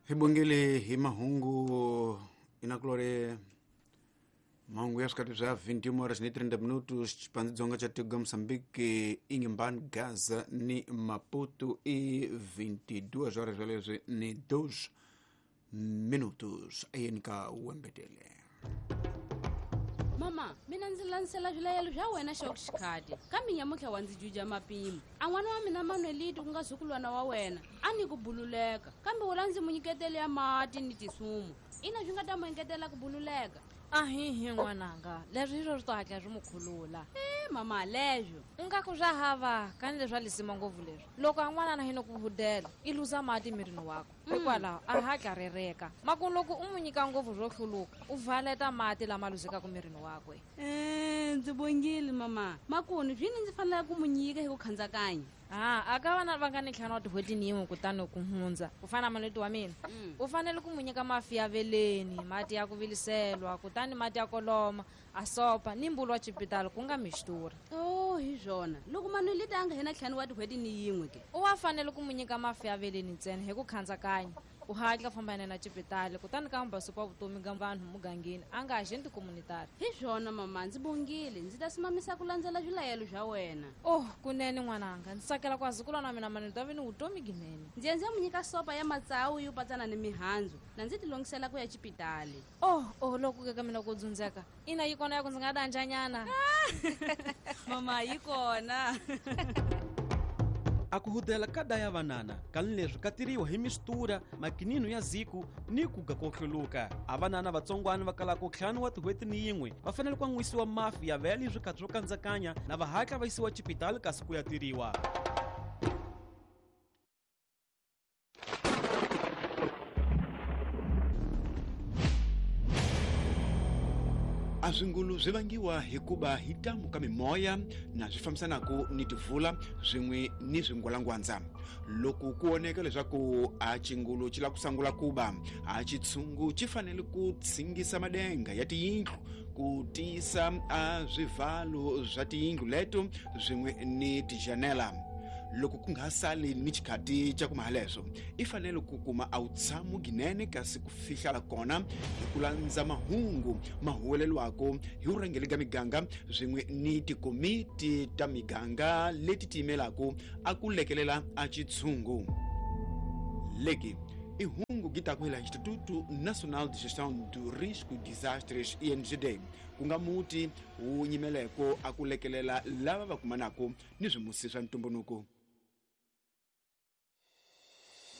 Hi bongele hi mahungu inakulore mahungu ya swikati swa 21 horas ni 30 minutos Xipandzonga xa tiko Mozambique Inhambane Gaza ni Maputo i 22 horas swaleswi ni 2 minutos ayeni ka wembetele. Mama, mina ndzi landzela swilayelo swa wena xa xikhati kambe nyamutlha wa ndzi juja mapimo a n'wana wa mina Manuelito ku nga zukulwana wa wena a ni ku bululeka kambe wula ndzi mu nyiketele ya mati ni tisumu ina swi nga ta mu engetela ku bululeka. Ahihi n'wananga, leswi hi swo swi to hatla swi mu khulula. Mama, leswo u nga ku swa hava kani leswi a lisima ngopfu leswi loko a n'wanana hi no ku hudela i luza mati mirini wakwe hikwalaho a hatla rereka maku loko u mu nyika ngopfu swo hluluka u valeta mati lama luzekaka mirini wakwe. Ndzi bongile mama, makuni swini ndzi fanele ku mu nyika hi ku khandzakanya. A ka vana va nga ni ntlhanu wa tin'hweti ni yin'we kutani ku hundza ku fana na Manuelito wa mina u fanele ku mu nyika mafi ya veleni, mati ya ku viliselwa, kutani mati ya koloma a sopa ni mbulu wa xipitali ku nga mixtura. Oh, hi swona loko Manuelito a nga hena ntlhanu wa tin'hweti ni yin'we ke u wa fanele ku mu nyika mafi ya veleni ntsena hi ku khandzakanya u hatla famba na xipitali kutani ka mbasupa wa vutomi ga vanhu mugangeni a nga agenti communitary. Hi swona mama, ndzi bongile ndzi ta simamisa ku landzela swilayelo swa wena. Oh, kunene n'wananga, ndzi tsakela ku azukulwana wa mina Manuelito a ve ni vutomi ginene. Ndzi ya ndzi ya mu nyika sopa ya matsawu yo patsana ni mihandzu na ndzi tilongisela ku ya xipitali. Oh, loko ke ka mina ku dzundzeka ina yi kona ya ku ndzi nga danjanyana. Mama, yi kona. A ku hudela ka daya vanana kani leswi ka tiriwa hi mistura makinino ya ziku ni ku ga ko hluluka. A vanana vatsongwana va kalaka ntlhanu wa tin'hweti ni yin'we va fanele ku an'wisiwa mafi ya vele swikhathi swo kandzakanya na va hatla va yisiwa xipitali kasi ku ya tiriwa. A swingulu swi vangiwa hikuva hi tamu ka mimoya na swi fambisanaka ni tivula swin'we ni swingwalangwandza. Loko ku oneka leswaku a xingulu xi lava ku sungula kuba, a xitshungu xi fanele ku tshingisa madenga ya tiyindlu ku tiyisa a swivalo swa tiyindlu leto swin'we ni tijanela. Loko ku nga sali ni xikhati xa ku mahaleswo i fanele ku kuma a wu tshamo ginene kasi ku fihlala kona hi ku landza mahungu ma huwelelwako hi vurhangeri ka miganga swin'we ni tikomiti ta miganga leti tiyimelaka a ku lekelela a xitshungu. Leki i hungu gi ta ku hela Instituto Nacional de Gestão do Risco de Desastres INGD ku nga muti wu nyimeleko a ku lekelela lava va kumanaka ni swimusi swa ntumbuluko.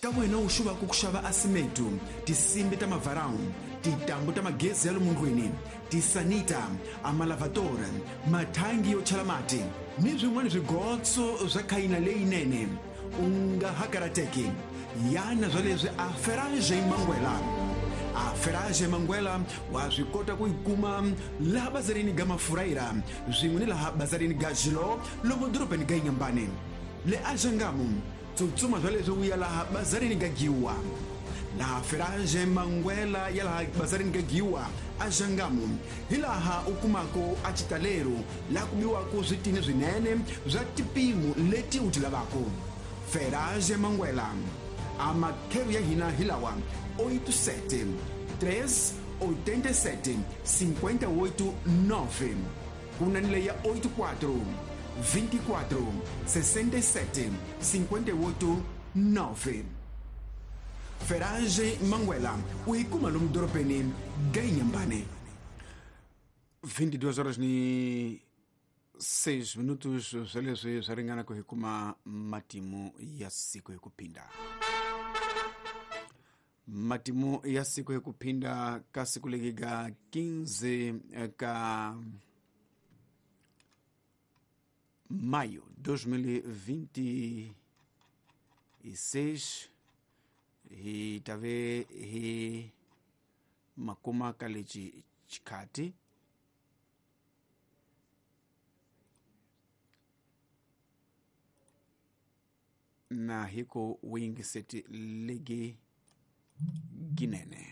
Ka wena u xuvaka ku xava asimeto, tinsimbi ta mavarawu, tintambu ta magezi ya lomu ndlwini, tisanita, amalavatory, mathangi yo chela mati ni swin'wana swigotso swa khayina leyinene, u nga ha karateki. Yana swa leswi a Ferrage Manguela. A Ferrage Manguela wa swi kota ku yi kuma laha bazarini ga Mafuraira swin'we ni laha bazarini ga Jilo lomu dorobeni ga Inhambane. Le Axangamu tsutsuma swa leswi u ya laha bazarini ga Giwa. Laha Ferrage Manguela ya laha bazarini ga Giwa Axangamu hi laha u kumaka a xitalero laha ku biwaka switini swinene swa tipimo leti u ti lavaka. Ferrage Manguela a makheru ya hina hi lawa 87 387 58 9 ku na ni leyi ya 84 24 67 58 9. Ferrage Manguela u yi kuma lomu dorobeni ga Inhambane. 22 horas ni 6 minutos swa leswi swa ringana ku hi kuma matimu ya siku hi ku phinda. Matimu ya siku hi ku phinda ka siku legi ga 15 ka maio 2026 hi tave hi makuma ka lexi xikhati na hi ku wingiseti legi ginene.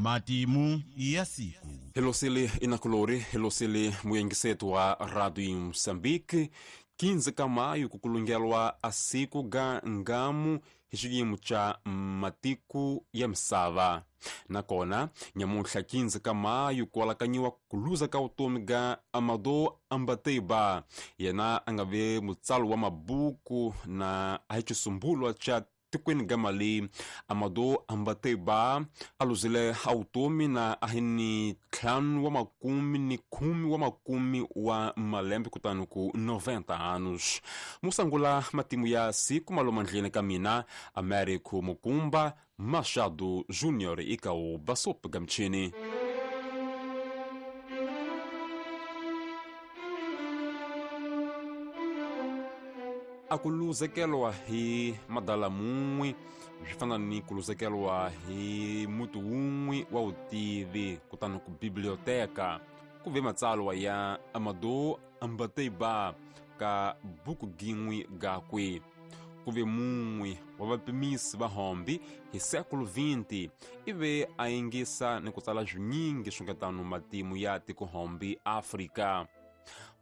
Matimu ya siku. Helosele inakulori, helosele muyengisetu wa Radio Moçambique. 15 ka maio kukulungelwa asiku ga ngamu hi xiyimo xa matiku ya misava. Nakona nyamuntlha 15 ka maio ku alakanyiwa ku luza ka vutomi ga Amadou Hampâté-Bâ, yena a nga ve mutsali wa mabuku na a hi xisumbulwa xa tikweni ga Mali. Amadou Hampâté-Bâ a luzile a vutomi na a hi ni 10 wa malembe kutani ku 90 anos. Musangula matimu ya siku malomandleni ka mina Américo Mukumba Machado Júnior ika o Basop Gamchini. A ku luzekelwa hi madala mun'we swi fana ni ku luzekelwa hi muti wun'we wa vutivi kutani ku biblioteka ku ve matsalwa ya Amadou Hampâté-Bâ ka buku gin'we gakwe. Ku ve mun'we wa vapimisi va hombi hi século XX ive a yingisa ni ku tsala swinyingi swi nga tano matimu ya tikohombi Afrika.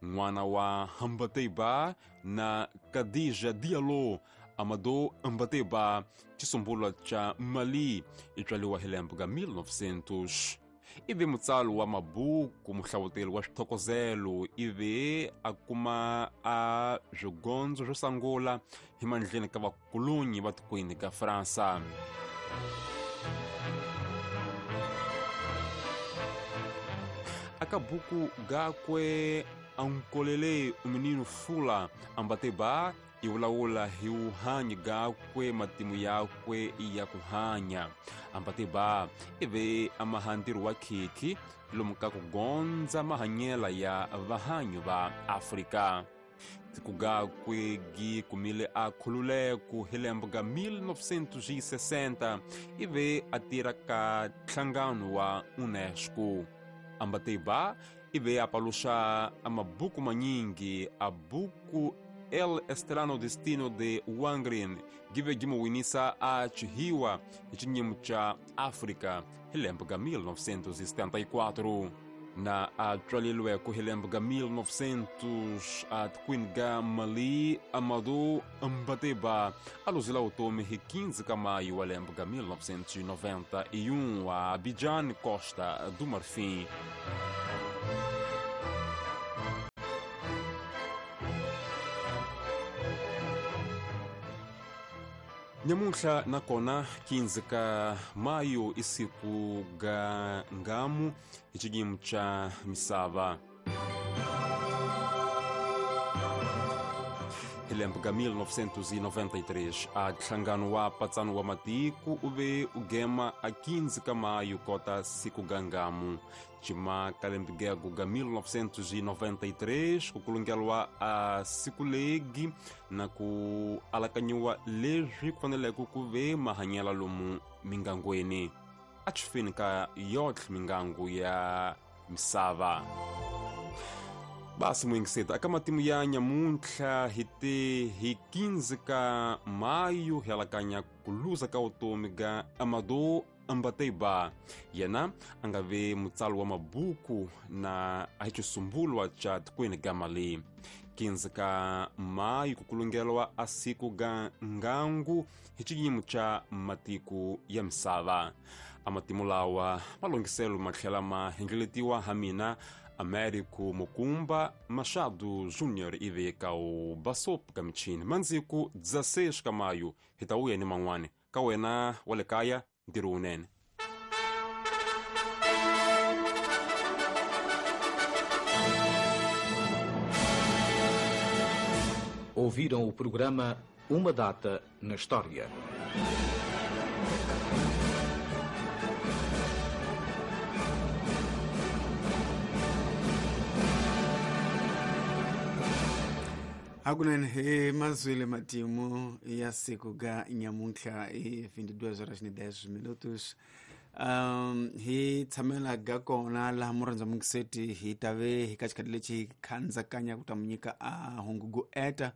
N'wana wa Hampâté-Bâ na Khadija Diallo, Amadou Hampâté-Bâ xisumbulwa xa Mali i tswaliwa hi lembe ga 1900. Ive mutsali wa mabuku, muhlavuteli wa swithokozelo, ive a kuma a swigondzo swo sungula hi mandleni ka vakulonyi va tikweni ka Fransa. Aka buku gakwe Ankolele o Menino Fula, Hampâté-Bâ i vulavula hi vuhanyi gakwe, matimu yakwe ya ku hanya. Hampâté-Bâ i ve a mahantirho wa khikhi lomu ka ku gondza mahanyela ya vahanyi va Afrika. Tiko gakwe gi kumile a khululeko hi lembe ga 1960 ive a tirha ka nhlangano wa UNESCO. Hampâté-Bâ ive a paluxa a mabuku manyingi, a buku El Estrano Destino de Wangrin give gi mu winisa a chihiwa hi xinyimu xa Afrika hi lembe ga 1974. Na a tswalilweko hi lembe ga 1900 a tikweni ga Mali, Amadou Hampâté-Bâ a luzila vutomi hi 15 ka maio wa lembe ga 1991 a Abidjan, Costa do Marfim. Nyamuntlha nakona 15 ka maio i siku ga ngamu hi xiyimo xa misava. Hi lembe ga 1993 a nhlangano wa Patsano wa Matiko u ve u gema a 15 ka maio kota siku ga ngamu. Cima ka lembe gego ga 1993 ku kulungelwa a siku legi na ku alakanyiwa leswi ku faneleke ku ve mahanyela lomu mingangweni a xifeni ka yotlhe mingangu ya misava. Basi muyingiseti aka matimu ya nyamuntlha hi te hi 15 ka maio hi alakanya ku luza ka vutomi ga Amadou Hampâté-Bâ, yena a nga ve mutsali wa mabuku na a hi xisumbulwa xa tikweni ga Mali. 15 ka maio ku kulungelwa a siku ga ngangu hi xiyimo xa matiko ya misava. A matimu lawa malunghiselo ma tlhela ma hlengeletiwa ha mina Américo Mukumba Machado Júnior ive ka o Basop ka michini mandziku 16 ka maio hi ta vuya ni man'wani ka wena wa le kaya ntirho wunene. Ouviram o programa Uma Data na História. Hakunene hi mazwile matimu ya siku ga nyamuntlha hi 22 horas ni 10 minutos. Hi tshamela ga kona laha murhandza mungiseti hi tave hi ka xikhathi lexi hi khandzakanya ku ta mu nyika a hungugu eta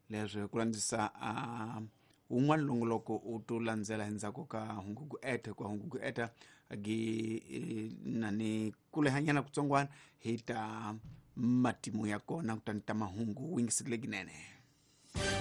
leswi ku landzisa a wun'wana longoloko u to landzela endzhaku ka hungugu eta, hikuva hungugu eta Gi na ni kulehanyana kutsongwana hi ta matimu ya kona, kutani ta mahungu wingiserile ginene.